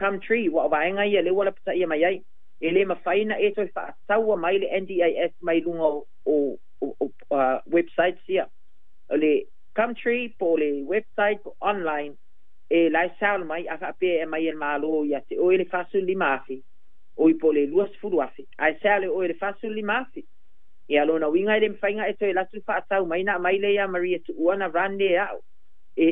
Gumtree, ua o vaega ia lea ua lapataia mai ai. E le mafai ona e toe faataua mai le NDIS mai luga o websites ia. O le Gumtree po o le website po online e la e sao mai a faapea e mai e le Malo ia te oe le $45,000 oi po o le $20,000 ae sea le oe le $45,000. Ia lona uiga e le mafai ona e toe alu atu faatau mai na aumai lea ia Maria Tuua na run lea e a'u. E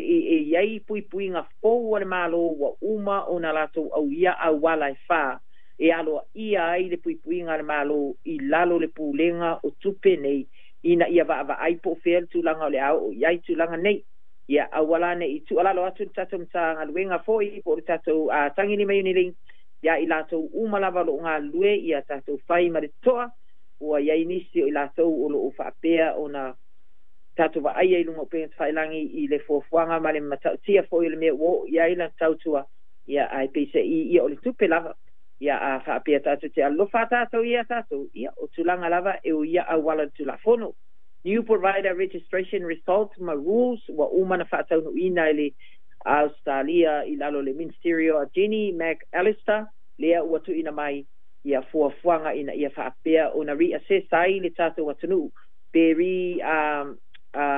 i ai puipuiga fou a le Malo ua uma ona latou auia auala e fā e aloaia ai le puipuiga a le Malo i lalo o le pulega o tupe nei ina ia vaavaai po o fea le tulaga o le a oo i ai tulaga nei. Ia aua la ne i tuualalo atu le tatou Matagaluega foi po o le tatou Tagilima Unilink ia i latou uma lava o lo o galulue ia tatou fai ma le totoa. Ua i ai nisi o i latou o lo o faapea ona tatou vaaia i luga o upega tafailagi i le fuafuaga ma le matautia foi o le mea ua oo i ai lana tautua, ia ae peiseai ia o le tupe lava. Ia a faapea tatou te alofa tatou ia tatou, ia o tulaga lava e o ia auala o le Tulafono. New Provider Registration Results ma Rules ua uma na faataunuuina e le Ausetalia i lalo o le Ministerio a Jenny McAllister lea ua tuuina mai ia fuafuaga ina ia faapea ona re-assess ai le tatou atunuu pe re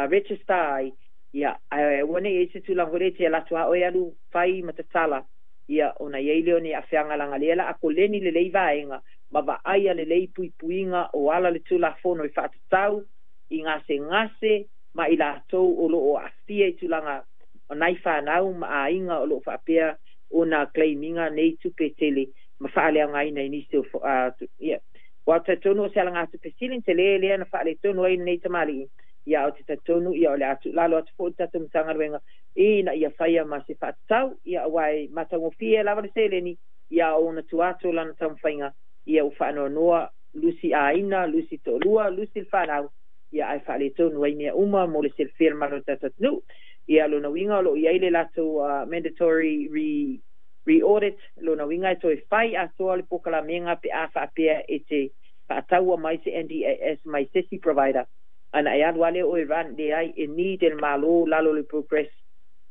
register ai, ia ae aua ne i i ai se tulaga foi lea e te alu atu lava oe alu fai ma tatala, ia ona i ai lea o ni aafiaga leaga lea o le a koleni lelei vaega ma vaaia lelei puipuiga o ala le Tulafono e faatatau i gasegase ma i latou o lo o aafia i tulaga o nai fanau ma aiga o lo o faapea ona claim ina nei tupe tele ma faaleaogaina i nisi o ia. Ua talitonu o se alagatupe sili tele lea na faaletonu ai lenei tamalii, ia ou te talitonu ia o le a tuulalo atu foi le tatou Matagaluega ina ia faia ma se faatatau, ia aua e matagofie lava le seleni, ia ona tua atu o lana taumafaiga, ia ua faanoanoa lusi aiga, lusi toalua, lusi le fanau, ia ae faaletonu ai mea uma mo le silafia e le mamalu o le tatou atunuu. Ia lona uiga o lo o i ai le latou mandatory re-audit, lona uiga e toe fai atoa le polokalamega pe a faapea e te faataua mai se NDIS mai se isi provider, ana e alu lava lea oe run, leai, e need e le Malo lalo o le progress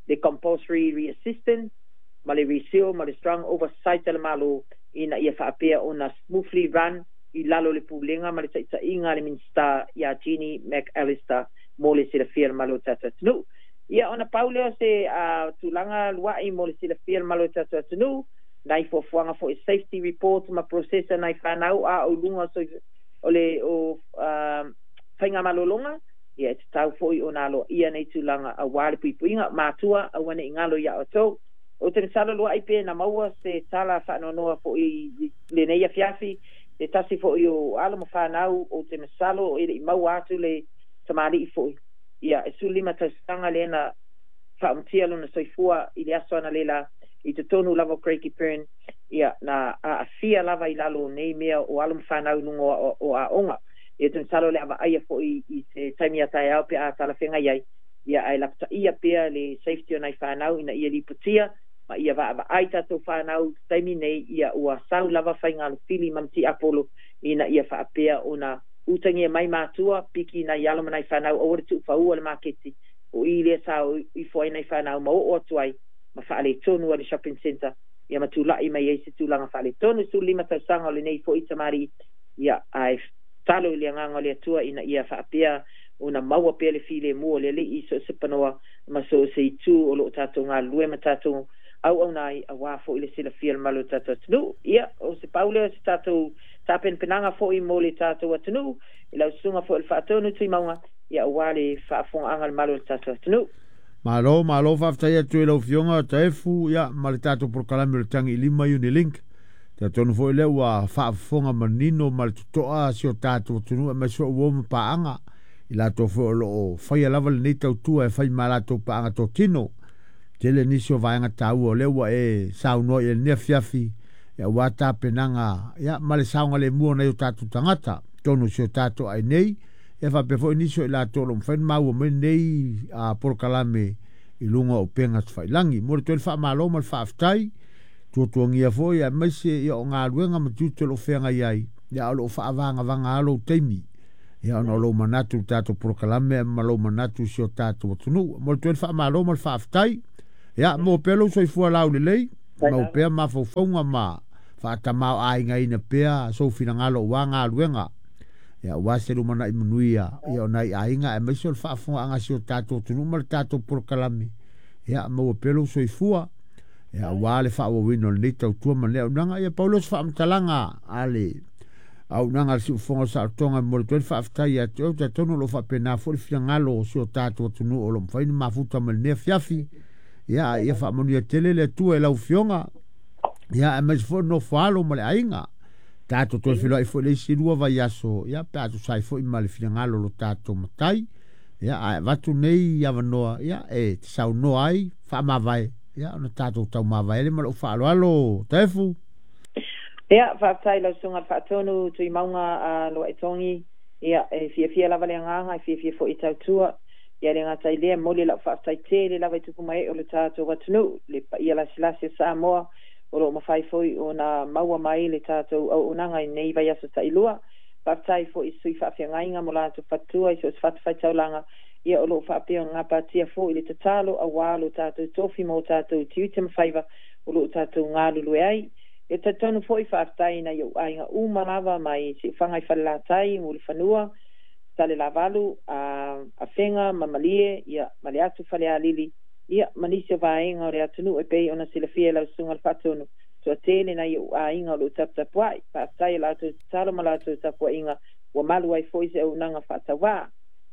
le compulsory re-assistance ma le reseal ma le strong oversight a le Malo ina ia faapea ona smoothly run i lalo o le pulega ma le taitaiga a le Minisita ia Jenny McAllister mo le silafia e le mamalu o le tatou atunuu. Ia ona pau lea o se tulaga lua'i mo le silafia e le mamalu o le tatou atunuu, nai fuafuaga foi safety report ma process a nai fanau a o i luga o le faigamalologa, ia e tatau foi ona aloaia nei tulaga aua le puipuiga. Matua, aua ne i galo ia outou. Ou te masalo lua'i pe na maua se tala faanoanoa foi i lenei afiafi, se tasi foi o alo ma fanau, ou te masalo e le i maua atu le tamalii foi. Ia, e 15 tausaga lea na faaumatia lona soifua i le aso analeila i totonu lava o Craigieburn, ia, na aafia lava i lalo o nei mea o alo ma fanau i luga o aoga. Ia, ou te masalo o le a vaaia foi i se taimi a taeao pe a talafeagai ai, ia, ae lapataia pea le safety o nai fanau ina ia lipotia ma ia vaavaai tatou fanau i le taimi nei, ia ua sau lava faiga alofili ma le tiapolo ina ia faapea ona utagia mai matua, piki nai alo ma nai fanau, aua le tuufaua le maketi o i lea sa ifo ai nai fanau ma oo atu ai ma faaletonu a le shopping centre, ia ma tula'i mai ai se tulaga faaletonu. 15 tausaga o lenei fo'i tamalii, ia ae talo i le agaga o le Atua ina ia faapea ona maua pea le filemu o le Alii i so o se panoa ma so o se itu o lo o tatou galulue ma tatou auauna ai aua foi le silafia e le mamalu o le tatou atunuu. Ia, o se pau lea o se tatou tapenapenaga foi mo le tatou atunuu i lau susuga foi o le Faatonu Tuimauga, ia aua le faafofogaaga a le mamalu o le tatou atunuu. Malo, malo, faafetai atu i lau Afioga Taefu, ia, ma le tatou polokalame o le Tagi i Lima Unilink. Talitonu foi lea ua faafofoga manino ma le totoa si o tatou atunuu aemaise foi uo ma paaga i latou foi o lo o faia lava lenei tautua e fai ma latou paaga totino. Tele nisi o vaega taua o lea ua e saunoa i lenei afiafi aua tapenaga, ia, ma le saogalemu o nai o tatou tagata tonu si o tatou ai nei, ia faapea foi nisi o i latou o lo o mafai ona maua mai lenei polokalame i luga o upega tafailagi. Mo le toe le faamalo ma le faafetai tuatuagia foi aemaise ia o galuega ma tiute o lo o feagai ai, ia o lo o faavagavaga lou taimi, ia ona o lou manatu i le tatou polokalame ma lou manatu i si o tatou atunuu. Mo le toe le faamalo ma le faafetai, ia mo pea lou soifua laulelei. Mau pea mafaufauga ma faatamāo'āigaina pea sou finagalo uā galuega. Ia uā se lumana'i manuia ia o nai aiga aemaise o le faafofogaaga si o tatou atunuu ma le tatou polokalame. Ia maua pea lou soifua. Ia uā le faaauauina o lenei tautua ma lenei auaunaga. Ia pau lea o se faamatalaga a le auaunaga a le Siufofoga o Saolotoga e momoli atu ai le faafetai ia te oe. Ou te talitonu o lo o faapena foi le finagalo o si o tatou atunuu o lo o mafai ona mafuta mai lenei afiafi. Ia a ia faamanuia tele le Atua i lau Afioga. Ia aemaise foi le nofo alo ma le aiga. Tatou toe feiloai foi le isi 2 vaiaso, ia pe a tusa ai foi ma le finagalo o lo tatou matai. Ia ae avatu nei avanoa, ia e te saunoa ai, faamavae, ia ona tatou taumavae le ma lou faaaloalo Taefu. Ia, faafetai lau Susuga i le Faatonu Tuimauga a Luaetogi. Ia, e fiafia lava le agaga, e fiafia foi e tautua. Ia le gata i lea, momoli lau faafetai tele lava i tupu mae o le tatou atunuu, le paia lasilasi o Samoa, o loo mafai foi ona maua mai le tatou auaunaga i lenei vaiaso tailua. Faafetai foi i sui faafeagaiga mo latou faletua i so o se fatafaitaulaga, ia o loo faapea ona gapatia foi le tatalo auā lo tatou tofi ma o tatou tiute ma faiva o loo tatou galulue ai. E talitonu foi faafetai nai ou aiga uma lava mai Siufaga i Falelatai, Mulifanua, Salelavalu, Afega ma Malie, ia ma le atu Falealili, ia ma nisi o vaega o le atunuu e pei ona silafia e lau Susuga i le Faatonu, toatele nai ou aiga o loo taputapuai. Faafetai i latou tatalo ma latou tapuaiga ua malu ai foi se auaunaga faatauvā.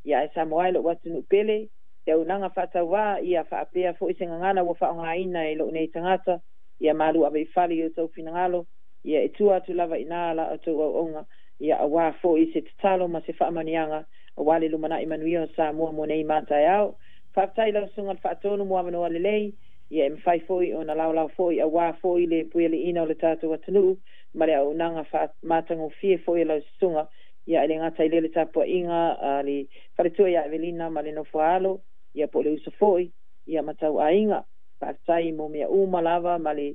Ia ae Samoa e lou atunuu pele, se auaunaga faatauvā, ia faapea foi se gagana ua faaaogaina e lou nei tagata, ia malu ave i fale i outou finagalo, ia e tua atu lava i ina la outou auauna, ia auā foi se tatalo ma se faamanuiaga auā le lumana'i manuia o Samoa mo nei ma taeao. Faafetai i lau Susuga i le Faatonu mo avanoa lelei, ia e mafai foi ona laolao foi auā foi le puialiiina o le tatou atunuu ma le auaunaga faamatagofie foi a lau Susuga, ia e le gata i lea le tapuaiga a le faletua ia Evelina ma le nofo a alo, ia po o le uso foi, ia ma tauaiga. Faafetai mo mea uma lava ma le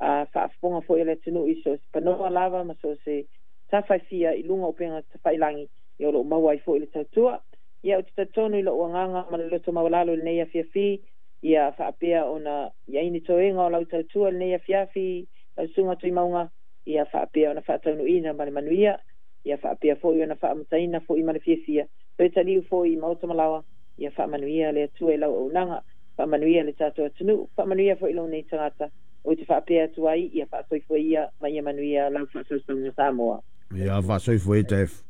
faafofoga foi a le atunuu i so o se panoa lava ma so o se tafa e fia i luga o upega tafailagi, ia o loo maua ai foi le tautua. Ia ou te talitonu i lou agaga ma le loto maualalo i lenei afiafi, ia faapea ona i ai ni toega o lau tautua i lenei afiafi, lau Susuga Tuimauga, ia faapea ona faataunuuina ma le manuia, ia faapea foi ona faamutaina foi ma le fiafia, toe taliu foi i maota ma laoa, ia faamanuia le Atua i lau auaunaga, faamanuia le tatou atunuu, faamanuia foi lou nei tagata, ou te faapea atu ai, ia faasoifua ia ma ia manuia lau faasausauga Samoa. Ia faasoifua ia Taefu.